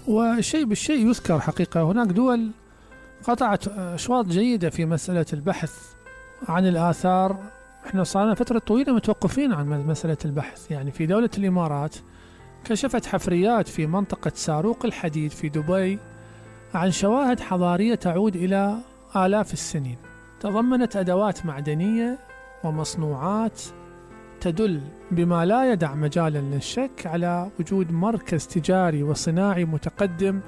والشيء بالشيء يذكر حقيقة. هناك دول قطعت أشواط جيدة في مسألة البحث عن الآثار. احنا صارنا فترة طويلة متوقفين عن مسألة البحث. يعني في دولة الإمارات كشفت حفريات في منطقة ساروق الحديد في دبي عن شواهد حضارية تعود إلى آلاف السنين، تضمنت أدوات معدنية ومصنوعات تدل بما لا يدع مجالا للشك على وجود مركز تجاري وصناعي متقدم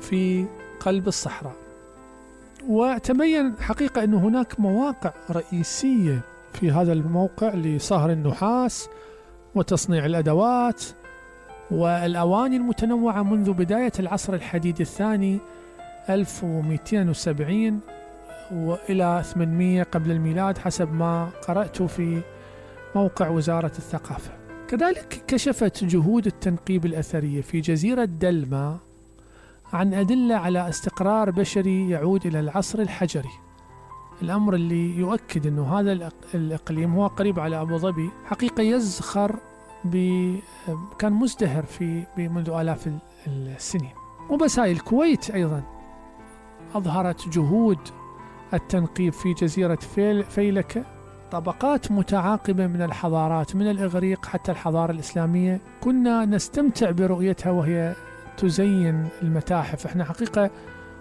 في قلب الصحراء. وتبين حقيقة أن هناك مواقع رئيسية في هذا الموقع لصهر النحاس وتصنيع الأدوات والأواني المتنوعة منذ بداية العصر الحديدي الثاني 1270 وإلى 800 قبل الميلاد حسب ما قرأت في موقع وزارة الثقافة. كذلك كشفت جهود التنقيب الأثرية في جزيرة دلما عن أدلة على استقرار بشري يعود إلى العصر الحجري، الأمر اللي يؤكد أنه هذا الإقليم هو قريب على أبو ظبي حقيقة يزخر كان مزدهر منذ آلاف السنين. وبس هاي الكويت أيضا أظهرت جهود التنقيب في جزيرة فيلكة، طبقات متعاقبة من الحضارات من الإغريق حتى الحضارة الإسلامية كنا نستمتع برؤيتها وهي تزين المتاحف. احنا حقيقة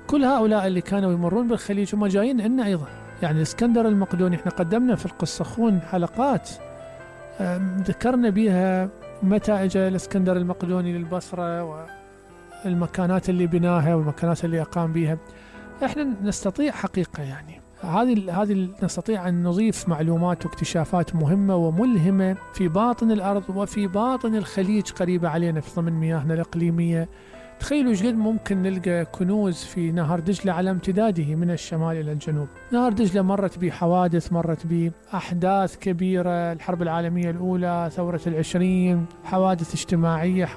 كل هؤلاء اللي كانوا يمرون بالخليج هم جايين لنا أيضا. يعني الإسكندر المقدوني احنا قدمنا في القصخون حلقات ذكرنا بها متى اجى الإسكندر المقدوني للبصرة والمكانات اللي بناها والمكانات اللي أقام بها. احنا نستطيع حقيقة يعني هذه نستطيع أن نضيف معلومات واكتشافات مهمة وملهمة في باطن الأرض وفي باطن الخليج قريبة علينا في ضمن مياهنا الإقليمية. تخيلوا ايش قد ممكن نلقى كنوز في نهر دجلة على امتداده من الشمال إلى الجنوب. نهر دجلة مرت بحوادث، مرت بأحداث كبيرة، الحرب العالمية الأولى، ثورة 20، حوادث اجتماعية،